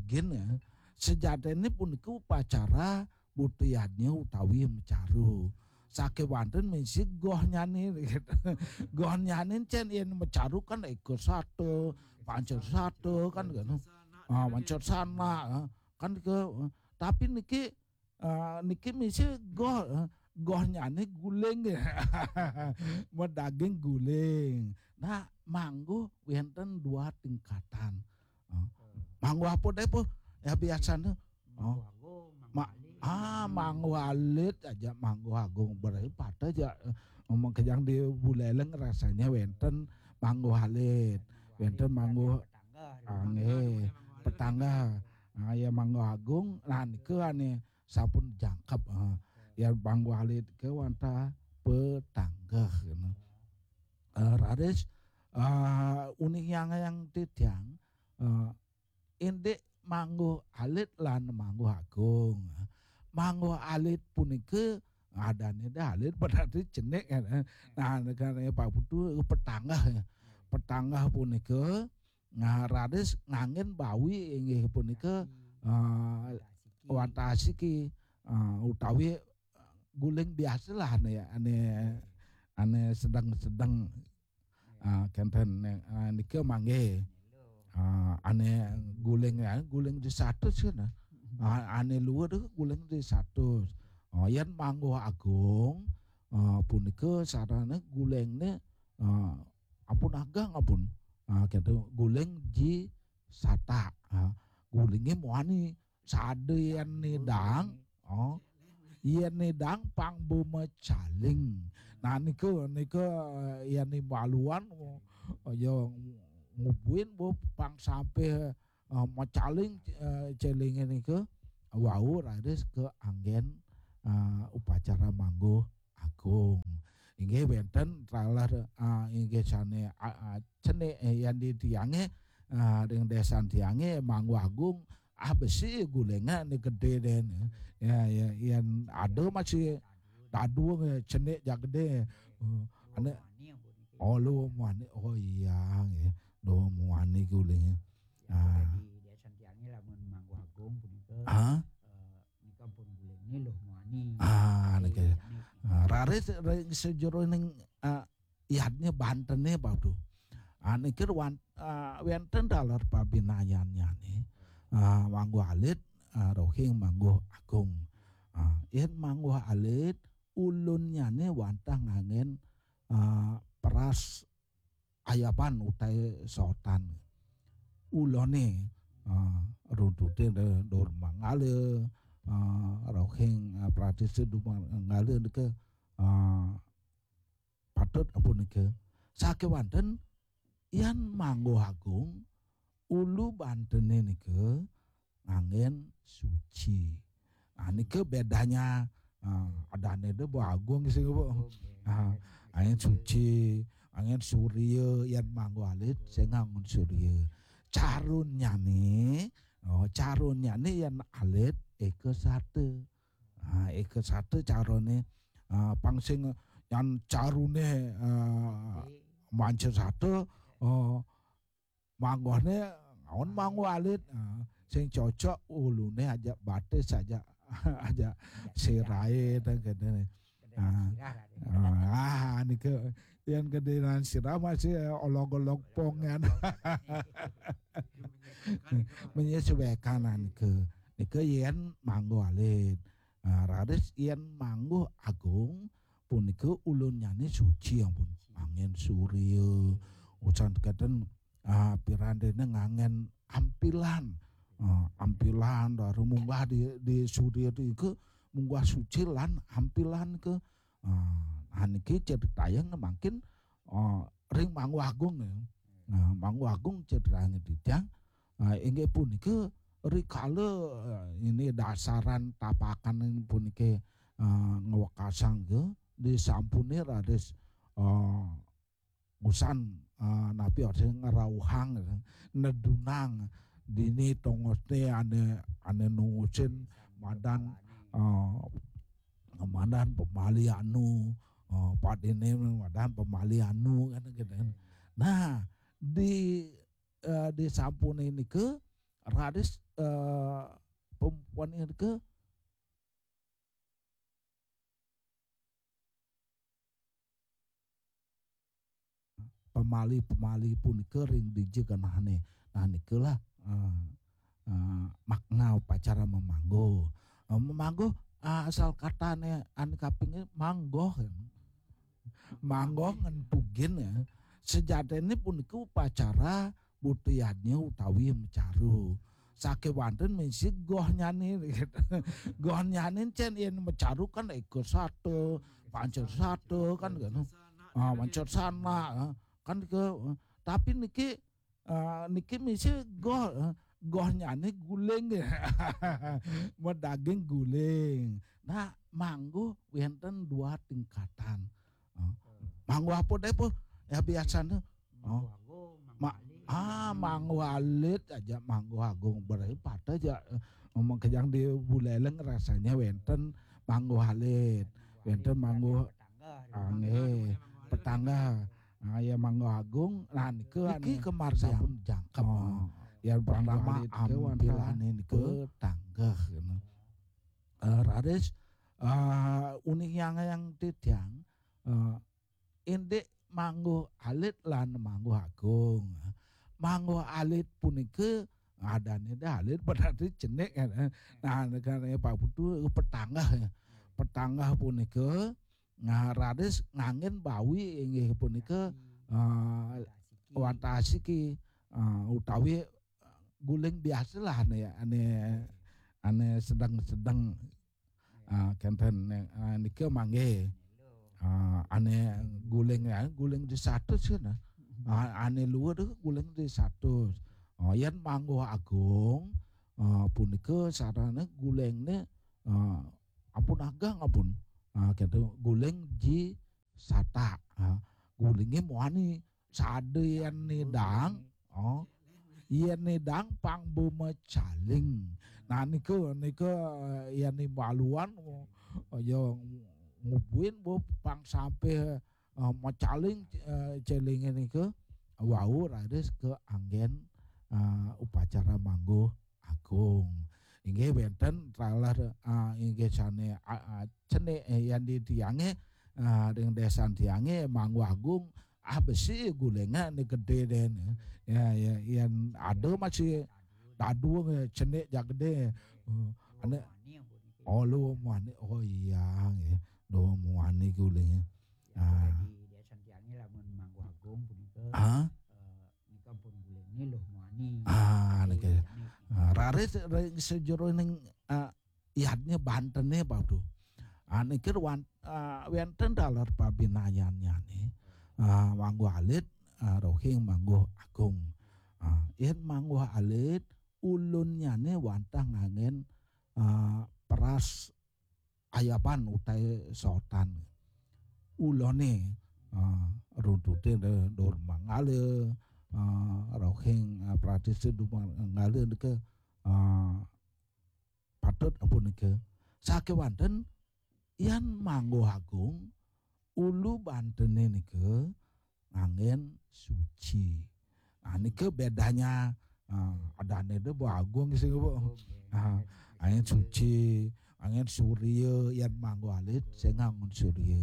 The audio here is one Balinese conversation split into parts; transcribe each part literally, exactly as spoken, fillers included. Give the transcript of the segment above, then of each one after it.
Gin, ya. Sejatiné punika upacara buta yadnya utawi macaru. Sakéwanten misi gohnyané. Gohnyané cén yén macaru kan éka sata, panca sata kan, kan. Ah, panca sana, ah, kan ke, tapi niki, ah, niki misi goh, ah, gohnyané guling. Madaging guling. Nah, mangguh wénten dua tingkatan. Ah, mangguh apa deh, Po? Ya, biasanya. Oh. Mangguh Agung, Mangguh Ma-, Alit. Ah, Mangguh Alit aja, Mangguh Agung. Berarti pada aja, eh, ngomong kejang di Buleleng rasanya wénten Mangguh Alit, wénten Mangguh Alit, Mangguh Petangga. Ah, nggih. Petangga. Ah, ya, Mangguh Agung. Nah, nika ané sampun jangkep, ah. Ya, Mangguh Alit ké wantah Petangga, gitu. Eh, raris, eh, uning yang, yang titiang, eh, indik Mangguh Alit lan Mangguh Agung. Mangguh Alit punika adané dah alit berarti cenik, ya. Nah, kan, ya, Pak Putu, Petangga, ya. Petangga punika, nah, raris nganggén bawi inggih punika, eh, wantah asiki, eh, utawi guling biasalah ané, ané, ané sedeng-sedeng. Ah, kénten, ah, nika manggih. Ah, ané guling, ya, guling di satus kan. Ah, ané luwur guling di satus. Oh, yén Mangguh Agung, ah, punika sarana gulingné, ah, ampun ageng, ampun. Ah, kénten guling ji satak. Ah, gulingé muani. Sada yén nidang, oh, yén nidang pang bo macaling. Nah, nika, nika, eh, yén imbaluan, oh, ya ngubuin bo pang sampai, eh, macaling, eh, celingé nika wau raris kaanggén, eh, upacara Mangguh Agung. Inggih wénten taler, ah, inggih sané, ah, ah, cenik, eh, yén di tiangé, ah, ring désan tiangé Mangguh Agung, ah, besi gulingan gedé dén. Ya, ya, yén ada masih tadung, ya, cenik jak gedé. Oh, ané, oh, lu muani. Oh, iya, nggih. Lu muani guling. Ya, ah. Di désan tiangé lamun Mangguh Agung punika, ah? Eh, nika pun guling nih loh muani. Ah, nika. Ah, raris ring sajeroning, ah, yadnya bantené, Pak Abdu. Ah, niki wan-, ah, wénten taler pabinayannyané. Ah, Mangguh Alit, ah, rohing Mangguh Agung. Ah, yén Mangguh Alit, ulunnyané wantah nganggén, ah, peras ayaban utawi sotan. Uluné, ah, runtuté de-, dur manggala, ah, rohing, ah, pratistha dur manggala nika, ah, patut ampun nika. Sakéwanten yén Mangguh Agung, ulu bantené nika nganggén suci. Nah, nika bedanya, ah, adané dé Bu Agung sing, Bu. Oke. Ah, nganggén suci, nganggén surya, yén Mangguh Alit sing nganggén surya. Carunnyané, oh, carunnyané yén alit éka sata. Ah, éka sata caruné, ah, pang sing yén caruné, ah, manca sata, oh, mangguhné ngaon Mangguh Alit, ah, sing cocok uluné aja batis aja, aja siraé teh kéné. Ah, ah, nika yén gedénan sirah masih olog-olog pong kan. Menyesuaikan nika. Nika yén Mangguh Alit. Ah, raris yén Mangguh Agung punika ulunnyané suci ampun. Nganggén surya, usan kénten, ah, pirantiné nganggén ampilan. Ah, ampilan, baru munggah di, di surya nika munggah suci lan ampilan nika. Ah, nah, niki critayang mangkin, ah, ring Mangguh Agung ya. Nah, Mangguh Agung critayang titiang, ah, inggih punika rikala, ah, ini dasaran tapakan puniki, ah, ngwekasang ke disampuné raris, ah, usan, ah, napi orti ngrauhang, nedunang dini tongosné ané, ané nungusin madan, ah, madan pamali anu, ah, padiné madan pamali anu kan gitu kan. Nah, di, eh, disampuné nika, raris, eh, pem-, punika pamali-pamali punika ring dija genahné. Nah, nikalah, eh, eh, makna upacara mamangguh. Eh, mamangguh, eh, asal katané anu kaping manggoh. Manggoh ngan pugin ya. Sejatiné punika upacara buta yadnya utawi macaru. Sakéwanten misi gohnyané. Gohnyané cén yén macaru kan eka sata, panca sata kan gitu. Ah, panca sana, ah, kan ke, tapi niki, ah, niki misi goh, ah, gohnyané guling. Madaging guling. Nah, mangguh wénten dua tingkatan. Ah, mangguh apa deh, Po? Ya biasanya. Oh. Ma-, ah, mangguh alit aja, mangguh agung, berarti pada aja, eh, ngomong kejang di Buleleng rasanya wénten mangguh alit, wénten mangguh, ah, nggih, petangga. Ah, ya mangguh agung, nah nika niki anu, kemar sampun jangkep. Oh. Ya pertama ampilané nika petangga, gitu. Eh, raris, eh, uning yang, yang titiang, eh, indik mangguh alit lan mangguh agung. Mangguh alit punika adané dah alit berarti cenik kan. Nah, kan Pak Putu petangga ya. Petangga punika, nah, raris nganggén bawi inggih punika, eh, wantah asiki, eh, utawi guling biasalah ané, ané, ané sedeng-sedeng. Ah, kénten, ah, nika manggih. Ah, ané guling ya, guling di satus kan. Ah, ané luwur tu guling di satus. Oh, yén mangguh agung, ah, punika sarana gulingné, ah, ampun ageng ampun. Ah, kénten guling ji satak. Ah, gulingé muani sada yén nidang. Oh. Yén nidang pang bumecaling. Nah, nika, nika, eh, yén imbaluan, oh, ya ngubuin bu pang sampai, eh, mecaling, eh, celingé nika wau raris kaanggén, eh, upacara mangguh agung. Inggih wénten taler, eh, inggih sané, eh, eh, cenik, eh, yén di tiangé, eh, ring désan tiangé mangguh agung, ah, besi gulingé gedé dén. Ya, ya, yén ada masih dadung, eh, cenik jak gedé. Eh, ané, oh, lu muani. Oh iya, nggih. Lu muani gulingé. Ah. Jadi, di Santiangé lamun mangguh agung punika, ah, eh, nika pun gulingé lu muani. Ah, niki. Cenik. Ah, raris ring sajeroning, ah, yadnya bantené, Pak Abdu. Ah, niki wan-, ah, wénten taler pabinayannyané. Ah, mangguh alit, ah, rohing mangguh agung. Ah, yén mangguh alit, ulunnyané wantah nganggén, ah, peras ayaban utawi sotan. Uluné, ah, runtuté dur manggala, ah, rohing, ah, pratistha dur manggala nika, ah, patut ampun nika. Sakéwanten yén mangguh agung, ulu bantené nika nganggén suci. Nah, nika bedanya, ah, adané deh Bu Agung sing, Bu. Oke. Ah, anggén suci, anggén surya, yén mangguh alit sing nganggén surya.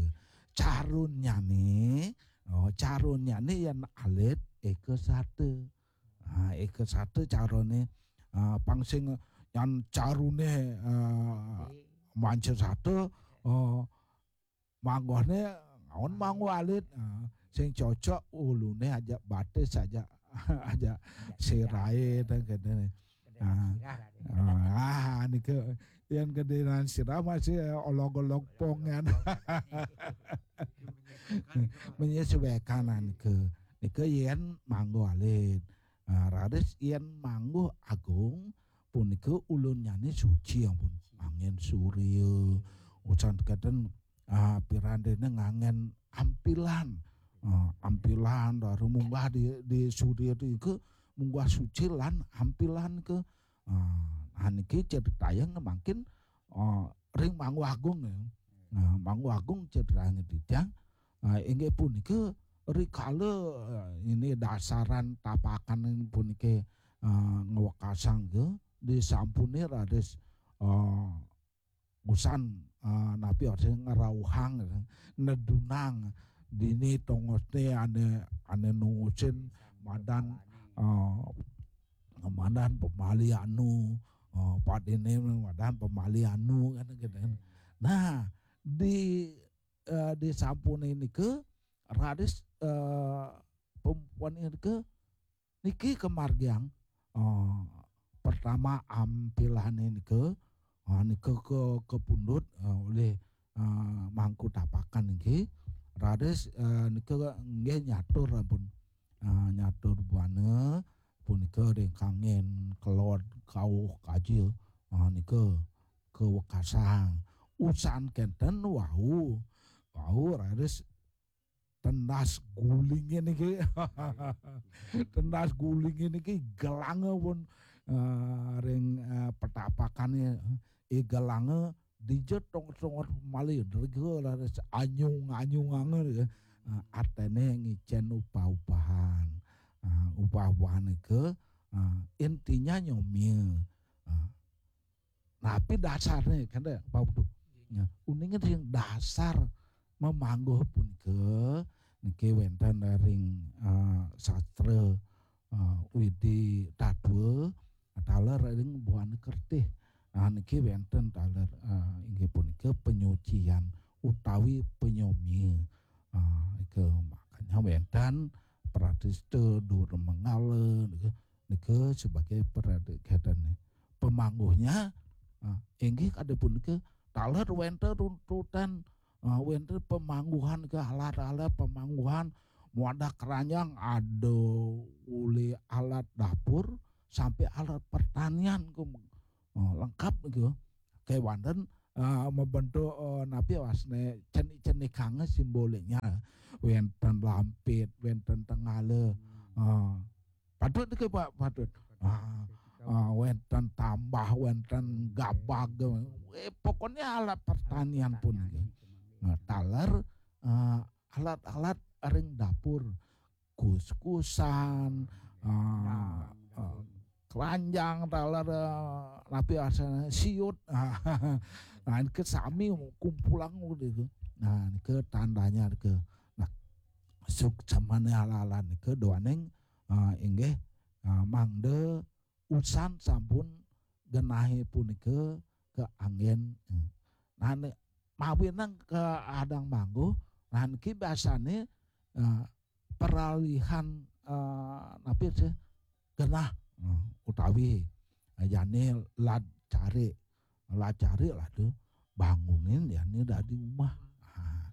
Carunnyané, oh, carunnyané yén alit éka sata. Ah, éka sata carané, ah, pang sing yan caruné, ah, manca sata, oh, mangguhné ngaon mangguh alit, ah, sing cocok uluné aja batis aja, aja siraé teh kéné. Ah, ah, nika yén gedénan sirah masih olog-olog pongan. Menyesuaikan nika. Nika yén mangguh alit. Ah, raris yén mangguh agung punika ulunnyané suci ampun. Anggén surya, usan kénten, ah, pirandiné nganggén ampilan. Ah, ampilan, lalu munggah di, di surya nika munggah suci lan ampilan ké. Ah, nah, niki critayang mangkin, ah, ring Manggu Agung ya. Nah, Manggu Agung critayang titiang, ah, inggih punika rikala, ah, ini dasaran tapakan puniki, eh, ngwekasang ke, disampune raris, eh, usan, eh, napi artine ngrauhang, nedunang dini tongosne ane, ane nungusin madan, eh, madan pamali anu, eh, padine madan pamali anu kan gitu kan. Nah, di, eh, disampune nika raris, eh, pempuan nika niki kamargiang, eh, pertama ampilane nika, eh, nika ke, kapundhut, eh, olih, eh, mangku tapakan niki. Raris, eh, nika nggih nyatur ampun. Eh, nyatur buana punika ring kangin kelod kauh kaja, eh, nika kawekasang. Usan kenten wau, wau raris tendas gulinge niki. Tendas gulinge niki gelanga pun, eh, ring, eh, petapakane, eh, gelanga dija tongos-tongos malih, dija raris anyung-anyunganga, eh, atene ngicen upah-upahan. Eh, upah-upahan nika, eh, intinya nyomia. Eh, Napi dasarne, kan, Pak Putu? Ya, uninge sing dasar mamangguh punika niki wenten ring, eh, sastra, eh, Widi Tatwa, taler ring buana kertih. Nah, niki wenten taler, eh, inggih punika penyucian utawi penyomia. Ah, ika makanya wenten pratista dur manggala nika, nika sebagai pradikatane. Pamangguhnya, ah, inggih kadi punika taler wenten runtutan, ah, wenten pamangguhan ke alat-alat pamangguhan, muadah keranjang ada uli alat dapur sampai alat pertanian ke, ah, lengkap gitu. Kewanten, ah, mabentuk, ah, napi wasne cenik-cenikanga simboliknya. Wenten lampit, wenten tengala. Ah, patut ke Pak, patut. Ah, ah, wenten tambah, wenten gabag. Eh, pokoknya alat pertanian pun gitu. Nah, taler, ah, alat-alat ring dapur, kuskusan, ah, ah, keranjang, taler, ah, napi asane siut. Nah, nika sami kumpulang gitu. Nah, nika tandanya nika. Nah, suksemane ala-ala nika duaning, ah, inggih, ah, mangda usan sampun genahe punika kaanggen. Nah, ne-, mawinan kaadang mangguh, nah, niki biasane, eh, peralihan, eh, napi sih, genah, eh, utawi, eh, jane lad carik, lad carik lah tu, bangunin jane dadi umah. Ah,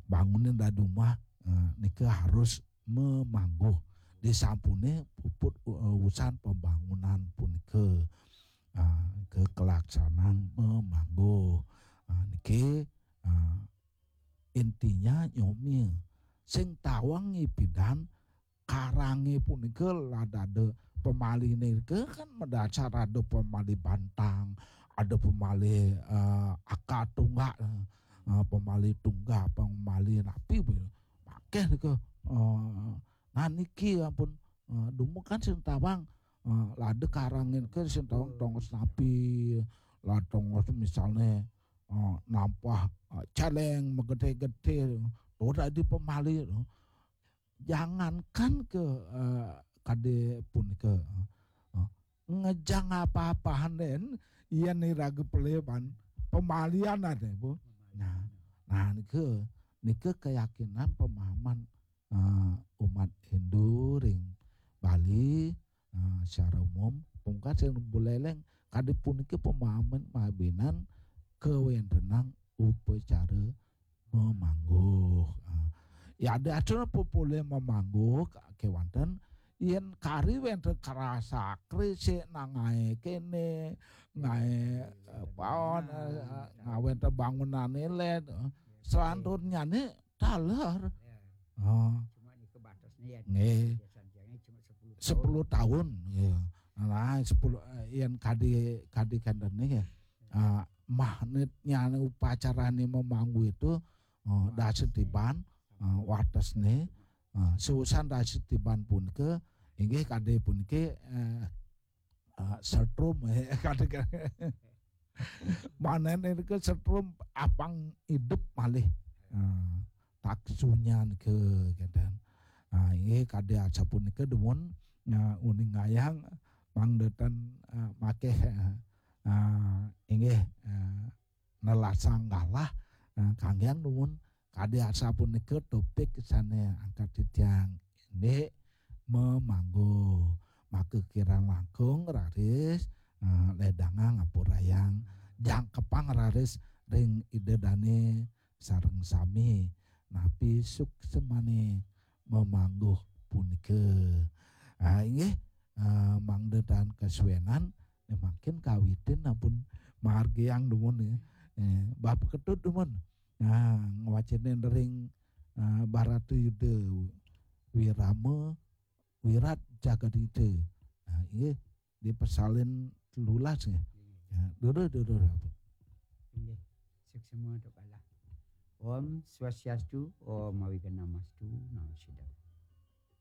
bangunin dadi umah, eh, nika harus mamangguh. Disampune puput, eh, usan pembangunan punika, ah, ke kelaksanaan mamangguh. Ah, niki, ah, intinya nyomia. Sing tawang ipidan karange punika lad ada pamaline nika kan madasar ada pamali bantang, ada pamali, eh, akar tunggak, eh, pamali tunggak, pamali napi, akeh nika. Eh, nah, niki ampun, eh, dumun kan sing tawang, eh, lad ada karange nika sing tawang tongos napi, lad tongos misalne, eh, nampah, eh, celeng magedhe-gedhe, to dadi pamali to. Jangankan ke, eh, kadi punika, eh, ngejang apa-apahan den, yen iraga pelih ban pamalian ade, Bu. Nah, nah, nika, nika keyakinan pemahaman, eh, umat Hindu ring Bali, eh, secara umum, pungkasan buleleng kadi punika pemahaman mawinan kawentenan upacara mamangguh. Ah, ya, ada atur apa polih mamangguh ka-, kewanten, yen kari wenten kerasa krisik nang ngae kene, ngae, eh, paon, eh, ngae wenten bangunane led, eh, selanturnyane taler. Oh. Cuma nika batasnya ya. Nggih. Biasanya cuma sepuluh tahun. Sepuluh tahun, ya. Nah, sepuluh, eh, yen kadi, kadi kenten niki, ya. Ah, magnetnya upacarane mamangguh itu, eh, dasa tiban, eh, watesne, eh, seusan dasa tiban punika, inggih kadi puniki, eh, setrum, eh, kadang-kadang. Maneh nika setrum apang idup malih. Ah, taksunya nika kenten. Ah, inggih kadi asapunika dumun, ah, uning ngayang mangda tan, ah, makeh, ah, ah, inggih, ah, nelasang galah, ah, kanggiang dumun kadi asapunika topik sane angkat titiang indik memanggu. Maka kirang langkung raris, ah, ledangang ampurayang jangkepang raris ring Ida Dane sareng sami napi suksemane memanggu punika. Ah, inggih, ah, mangda tan kasuenan, ne mangkin kawitin ampun margiang dumun ya. Eh, bab ketut dumun. Nah, ngwacenin ring, ah, Barata Yuda Wirama Wirat Jagadita. Nah, inggih di pasalin telulas nggih. Ya, durus, durus, ampun. Inggih. Suksema untuk Allah. Om Swastiastu, Om Awighnamastu, Namo Siddham.